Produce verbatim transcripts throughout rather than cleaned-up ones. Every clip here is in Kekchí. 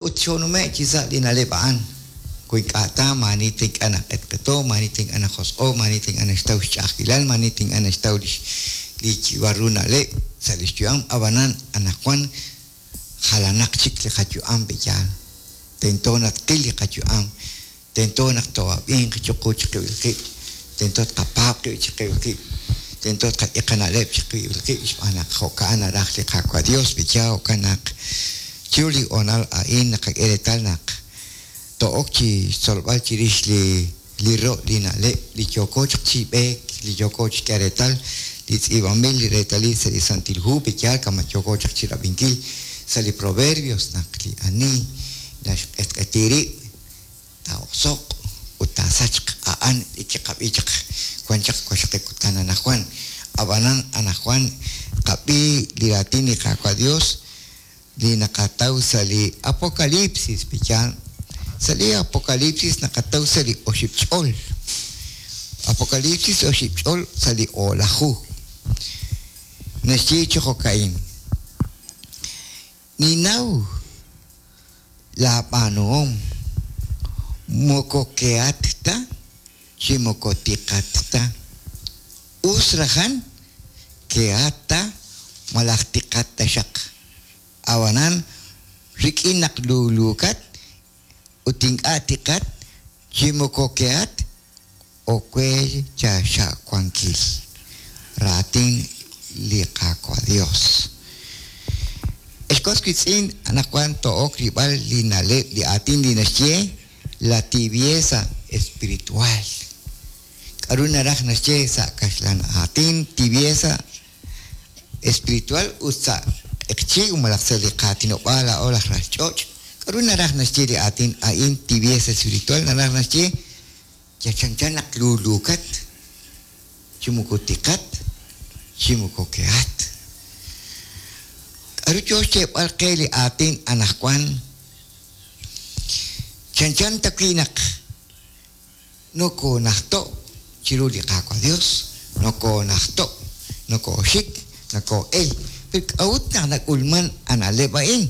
Ut xoonume'k chi sa' li na'leb' a'an, wi ink'a' ta maa'ani ta ink'a' naq'etq'eto, maa'ani ta ink'a' najosq'o, maa'ani ta ink'a' naxtaw xch'a'ajkilal, maa'ani ta ink'a' naxtaw lix li yib'al ru na'leb' sa' li xyu'am. Ab'anan anaqwan jalanaq chik li qayu'am pe'yaal. Tento naq tqil li qayu'am, tento naq too'ab'inq chiqu chiqib'il qib', tento tqapaab' qib' chiqib'il qib', tento tqak'e qana'leb' chiqib'il qib' xb'aan naq jo'ka'an naraj li Qaawa' Dios pe'yaal. Jo'kan naq chiru li hoonal a'in naqak'e reetal naq to'ok chi xtzolb'al chirix li li ro' li na'leb' li yooko chaq chi b'eek, li yooko chi xk'e reetal li tz'iib'anb'il li reetalil sa' li Santil Hu pe'yaal, kama' yooko chaq chi rab'inkil sa' li Proverbios naq li ani naxq'etq'eti rib' taa'oso'q ut taasachq. A'an li kiqab'i chaq wan chaq waqxaqib' kutan anaqwan. Ab'anan anaqwan qab'i li raatin li Qaawa' Dios li naqataw sa' li Apocalipsis pe'yaal. Sa' li Apocalipsis naqataw sa' li oxib' ch'ol, Apocalipsis oxib' ch'ol sa' li o'laju, naxye chi jo'ka'in: Ninnaw laab'aanuhom, moko kehat ta chi moko tiqat ta. Us rajan kehat ta malaj tiqat taxaq. Ab'anan rik'in naq luuluukat ut ink'a' tiqat chi moko kehat, owe chaxa'wankil. Raatin li Qaawa' Dios. Ex was wiitz'in, anaqwan to'ok rilb'al li na'leb', li aatin li naxye la tibieza espiritual. K'aru naraj naxye sa' kaxlan aatin tibieza espiritual ut sa' q'eqchi' malaj sa' li qaatinob'aal laa'o laj ral ch'och'? K'aru naraj naxye li aatin a'in tibieza espiritual? Naraj naxye yachanchan naq luuluukat chi moko tiqat chi moko kehat. K'aru yo xyeeb'al qe li aatin anaqwan? Chanchan ta wi' naq nokoonajto' chiru li Qaawa' Dios, nokoonajto', nokooxik, nokoo'el. Pero k'a'ut naq nak'ulman a na'leb' a'in?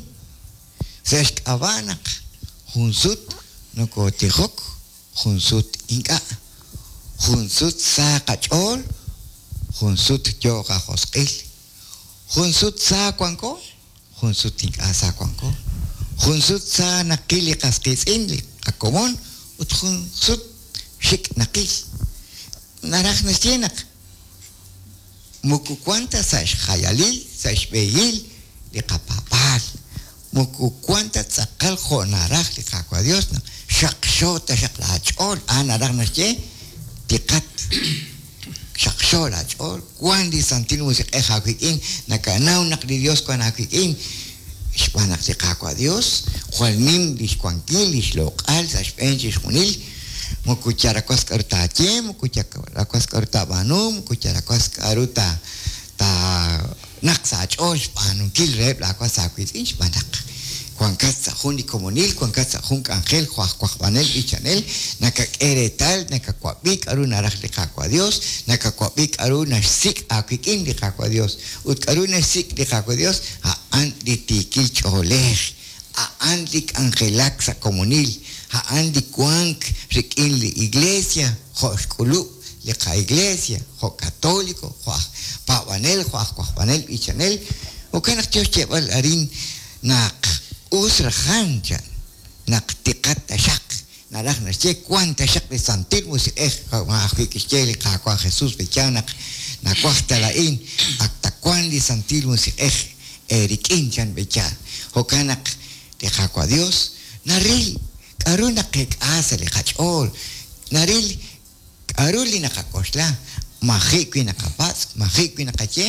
Sa' xk'ab'a' naq jun sut nokootijok, jun sut ink'a', jun sut sa qach'ool, jun sut yo qajosq'il, jun sut sa wanko, jun sut ink'a' sa wanko, jun sut sa naqil li qas qiitz'in, li qakomon, ut jun sut xik' naqil. Naraj naxye naq moko wan ta sa' xjayalil, sa' xb'ehil li qapaab'aal, moko wan ta tz'aqal jo' naraj li Qaawa' Dios naq xaqxo taxaq laach'ool. A'an naraj naxye tiqat, xaqxo laach'ool, wan li Santil Musiq'ej aawik'in, nakanaw naq li Dios wan aawik'in, xb'aan naq li Qaawa' Dios jwal nim li xwankil, li xloq'al sa' xb'een chixjunil. Moko yarawas k'aru taaye, moko yarawas k'aru taab'aanu, moko yarawas k'aru ta naq sa' aach'ool xb'aanunkil reheb' laawas aawiitz'in, xb'aan naq wankat sa' jun li komonil, wankat sa' jun k'anjel jo' aj wajb'anel b'ichanel, nakak'e reetal, nakawab'i k'aru naraj li Qaawa' Dios, nakawab'i k'aru naxsik' aawik'in li Qaawa' Dios. Ut k'aru naxsik' li Qaawa' Dios? A'an li tiikil ch'oolej, a'an li k'anjelak sa' komonil, a'an li wank rik'in li iglesia jo' xk'ulub' li qa-iglesia, jo' katoliko, jo' aj paab'anel, jo' aj wajb'anel b'ichanel. Jo'kan naq yo xyeeb'al arin naq us rajan chan naq tiqat taxaq, naraj naxye wan taxaq li Santil Musiq'ej, ajwi' kixye li Qaawa' Jesús pe'yaal naq nawaj ta laa'in ak ta wan li Santil Musiq'ej eerik'in chan pe'yaal. Jo'kan naq li Qaawa' Dios naril k'aru naqek'a sa' li qach'ool, naril k'aru li naqak'oxla, maji' wi' naqapatz', maji' wi' naqaye,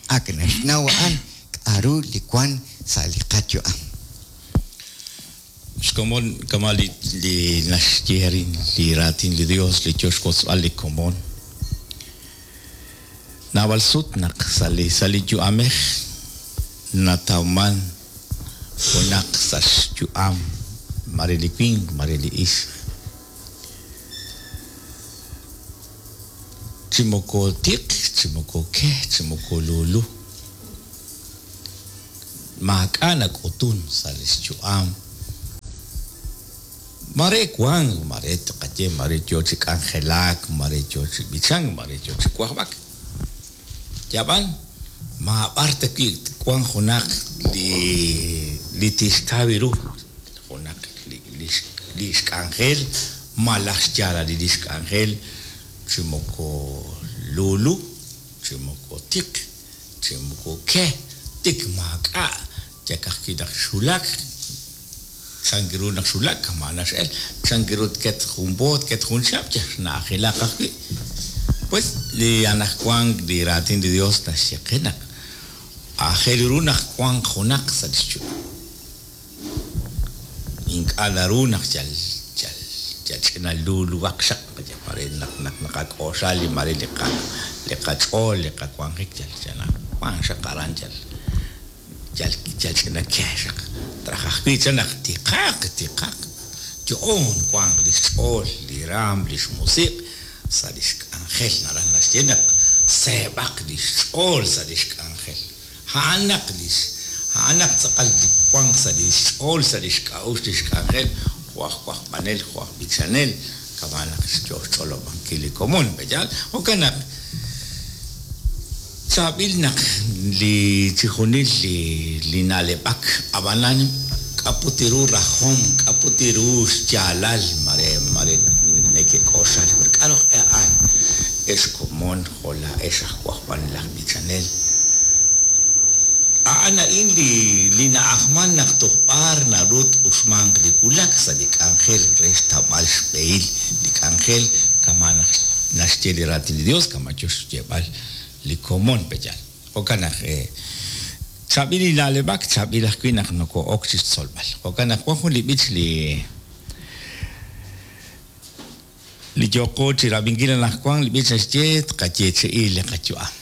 ak naxnaw a'an k'aru li wan sa' li qayu'am. Xkomon kama' li li naxye arin li raatin li Dios li yo xwotzb'al li komon. Naab'al sut naq sa' li sa' li yu'amej natawman junaq sa' xyu'am mare li winq, mare li ixq. Chi moko tiq, chi moko ke, chi moko lulu. Maak'a' nak'utun sa' li xyu'am. Mare wank, mare tqaye, mare yo chi k'anjelak, mare yo chi b'ichank, mare yo chi wajb'ak. Yab'an ma b'ar ta wi' wank junaq li li tixtaw ru junaq li li li xk'anjel malaj xyaalal li xk'anjel chi moko lulu, chi moko tiq, chi moko ke, tik maak'a' yakaj naq xulak chank ru naq xulak kama' nax'el chank ru tket jun po tket jun chihab' xna'ajilaq ajwi'. Pues li anajwank li raatin li Dios naxye qe naq aajel ru naq wanq junaq sa' li xyu'am. Ink'a' naru naq yal yal yal ch'ina luluwaq xaq mare naq naq naqak'oxla li mare li qa li qach'ool li qawanjik yal yal wank xaq aran yal yal yal ch'ina ke xaq traj ajwi' chan naq tiqaq tiqaq yo'on wanq li xch'ool li raam li xmusiq' sa' li xk'anjel naraj naxye naq seeb'aq li xch'ool sa' li xk'anjel a'an naq li a'an naq tz'aqal li wanq sa' li xch'ool sa' li xk'a'uxl li xk'anjel jo' aj wajb'anel jo' aj b'ichanel kama' naq yo xch'olob'ankil li komon pe'yaal jo'kan naq chaab'il naq li chijunil li li na'leb'ak ab'anan k'aputi ru rajom k'aputi ru xyaalal mare mare neke'k'oxal k'a'ru a'an ex komon jo' laa'ex aj wajb'anel aj b'ichanel a'an a'in li li na'ajman naq toj b'ar naru t-uxmanq li wulak sa' li k'anjel re xtawb'al xb'ehil li k'anjel kama' naq naxye li raatin li Dios kama' yo xyeeb'al li komon pe'yaal jo'kan naq chaab'il li na'leb'ak chaab'il ajwi' naq noko'ok chixtzolb'al jo'kan naq wan jun li b'ich li li yoqo chi rab'inkil anaqwan li b'ich naxye tqayeechi'i li qayu'am.